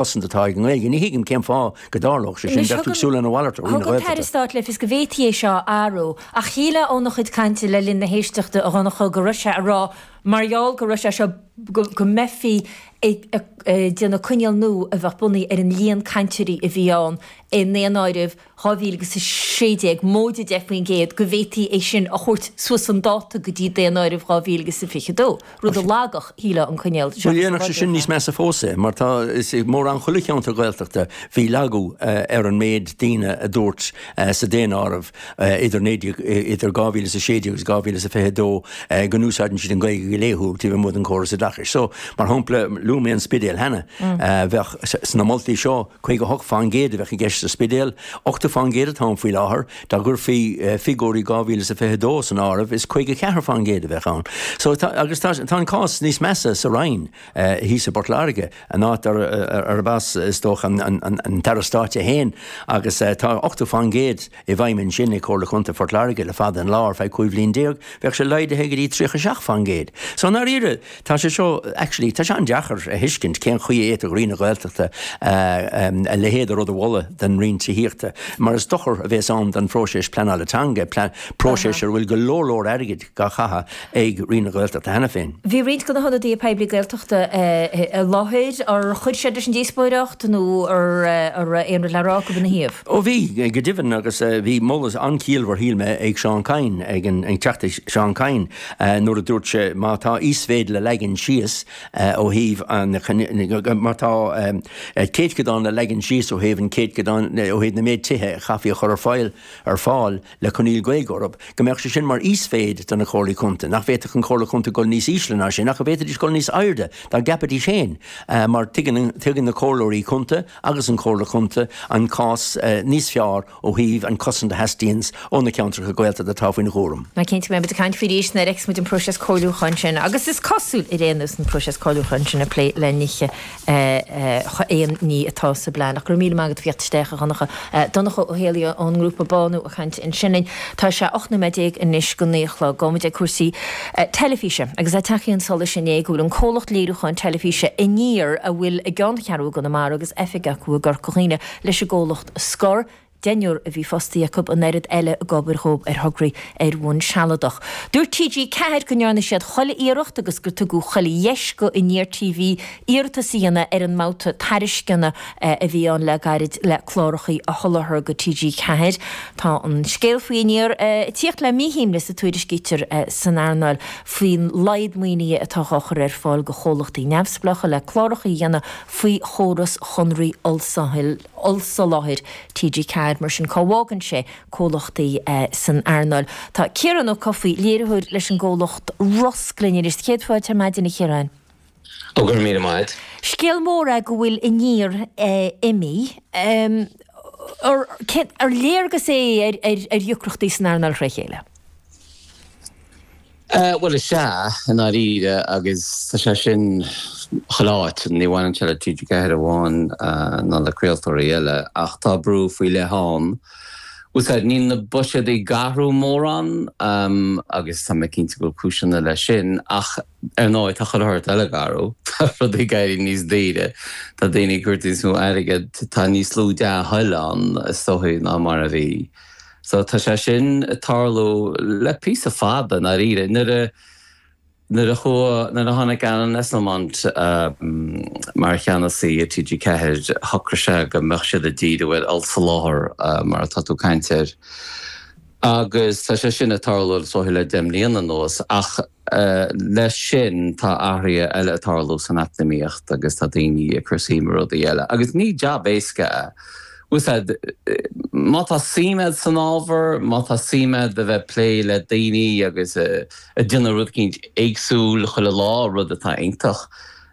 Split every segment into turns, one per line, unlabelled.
Cosaint atá ag an nGaeilge. Ní thuigim cén fáth go dtarlódh sé sin.
Anois
Bheadh tú ag súil lena mhalairt ó Roinn na
thug an tAire
Gaeltachta.
Stáit le fios go bhféadfaí é seo a athrú, ach shílfeá óna chuid cainte le linn na héisteachta, a Dhonncha, go raibh sé ag rá mar gheall go raibh sé seo, go mbeifí ag déanamh coinníoll nua a bheadh bunaithe ar an líon cainteoirí a bhí ann i ndaonáireamh 2016, móide 10%, go bhféadfaí é sin a thabhairt suas chun dáta go dtí daonáireamh 2022, rud a lagódh, shílfeá, an coinníoll
Bhuel, dhéanfadh sé sin níos measa fós é, mar tá, is i mórán chuile cheantar Gaeltachta, bhí lagú ar an méid daoine a dúirt sa daonáireamh idir 19, idir 2016 agus 2022 go n-úsáideann siad an Ghaeilge go laethúil taobh amuigh den chóras oideachais. So, mar shampla, luaigh mé an Spidéal cheana, bheadh sna moltaí seo, 58% a bheadh i gceist sa Spidéal, 80% atá ann faoi láthair. Dá gcuirfí figiúirí 2022 san áireamh, is 54% a bheadh ann. So tá, agus tá, tá an cás níos measa sa Rinn, thíos i bPort Láirge, an áit arb as, is dócha, an, an, an tAire Stáit é féin, agus tá 80%. i bhfeidhm ansin ag Comhairle Contae Phort Láirge le fada an lá, ar feadh 15 bhliain, bheadh sé laghdaithe go dtí 37%. So i ndáiríre, tá sé seo, actually, tá sé an-deacair a thuiscint cén chaoi a fhéadfadh Roinn na Gaeltachta a leithéid de rud a mholadh don Roinn Tithíochta, mar is dochar a bhéas ann don phróiseas pleanála teanga, próiseas ar a bhfuil go leor leor airgid dhá chaitheamh ag Roinn na Gaeltachta cheana féin.
Bhí roinnt de na hionadaithe poiblí Gaeltachta i láthair. Ar chuir siad leis an díospóireacht nó an raibh aon rud le rá acu ina thaobh?
Ó bhí, go deimhin, agus bhí moladh an-chiallmhar, shíl mé, ag Seán Kyne, ag an Teachta Seán Kyne, nuair a dúirt sé má tá íosmhéid le leagan síos ó thaobh an, má tá céadchodán le leagan síos ó thaobh an chéadchodán, ó thaobh na méid tithe a chaithfí a chur ar fáil, ar fáil le coinníoll Gaeilge orthu, go mbeadh sé sin mar íosmhéid do na comhairlí contae, nach bhféadfadh an chomhairle contae dul níos ísle ná sin, ach go bhféadfaidís dul níos airde dá gceapfaidís féin, mar tuigeann, tuigeann na comhairleoirí contae agus an Chomhairle Chontae an cás níos fearr ó thaobh an chosaint a theastaíonns ó na ceantracha Gaeltachta atá faoina gcúram.
Ná cinnte go mbeidh muid ag caint faoi arís nuair a fheicfeas muid an próiseas comhairliúcháin sin agus is cosúil ar aon nós an próiseas comhairliúcháin sin ag plé le nithe aon ní atá sa bplean. Ach go raibh míle maith agat a theacht isteach a Dhonncha. Donncha Ó Héalaí ón ngrúpa Bánú ag caint ansin linn. Tá sé 18 nóiméad anois go 9 a chlog. Gabhfaidh muid ag cúrsaí teilifíse agus é tagtha chun solais inné go bhfuil an comhlacht léiriúcháin teilifíse Aniar, a bhfuil a gceanncheathrú i gConamara agus oifig acu i gCorca Dhuibhne, leis an gcomhlacht a scor. Deichniúr a bhí fostaithe acu, an oiread eile ag obair dhóibh ar thograí ar bhonn sealadach. Dúirt TG4 go ndearna siad chuile iarracht agus gur tugadh chuile dheis go Aniar TV iarratas a dhéanamh ar an mbabhta tairisceana a bhí ann le gairid le clárachaí a sholáthar go TG4. Tá an scéal faoi Aniar ag tíocht le míshuaimhneas a tuairiscítear san earnáil faoin laghad maoinithe atá á chur ar fáil go chomhlachtaí neamhspleácha le clárachaí a dhéanamh faoi chóras chonraí ollsoláthair TG4. Mar sin, cá bhfágann sé comhlachtaí san earnáil? Tá Ciarán Ó Cofaigh, léiritheoir leis an gcomhlacht Rosc linn anois. Céad fáilte ar maidin, a Chiaráin.
Ó, go raibh míle maith a't.
Scéal mór é go bhfuil Aniar imithe. Ar léargas é ar dheacrachtaí san earnáil tré chéile?
Bhuel, is ea, i ndáiríre, agus tá sé sin chuile áit, ní bhaineann sé le TG4 amháin ná le craoltóirí eile, ach tá brú faoi leith ann. Bhfuil a fhios agat, níl na buiséadaí ag athrú mórán agus tá mé cinnte go bhfuil cúiseanna leis sin, ach ar ndóigh tá chuile shórt eile ag athrú, tá rudaí ag éirí níos daoire, tá daoine ag tabhairt níos mó airgid, tá níos lú dea-thoil ann is dóigh ná mar a bhí. So tá sé sin ag tarlú le píosa fada, i ndáiríre. Nuair a, nuair a chuaigh, nuair a tháinig Alan Esslemont mar cheannasaí ar TG4, shocraigh sé go mbeadh siad ag díriú ar ollsoláthar, mar atá tú ag caint air. Agus tá sé sin ag tarlú is dóigh le 10 mbliana anuas. Ach leis sin tá athruithe eile ag tarlú san eacnamaíocht agus tá daoine ag cur suim i rudaí eile. Agus ní jab éasca é. Bhfuil a fhios agat, má tá suim agat san ábhar, má tá suim agat a bheith ag plé le daoine agus ag déanamh rud eicínt éagsúil chuile lá, rud atá iontach,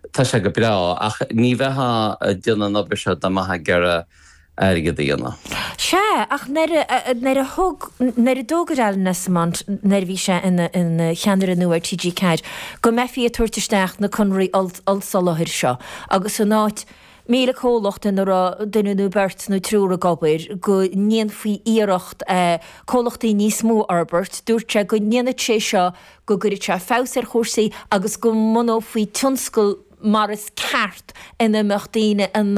tá sé go breá. Ach ní bheifeá ag déanamh an obair seo dá mbeifeá ag iarraidh airgead a dhéanamh.
Sea, ach nuair a, nuair a thug, nuair a d'fhógair Alan Esslemont, nuair a bhí sé ina, ina cheannaire nua ar TG4, go mbeifí ag tabhairt isteach na conraí ollsoláthair seo agus in áit 1,000 comhlacht ina raibh duine nó beirt nó triúr ag obair, go ndéanfaí iarracht comhlachtaí níos mó a fhorbairt, dúirt sé go ndéanfadh sé seo, go gcuirfeadh sé feabhas ar chúrsaí agus go mbunófaí tionscal. mar is ceart ina mbeadh daoine in ann.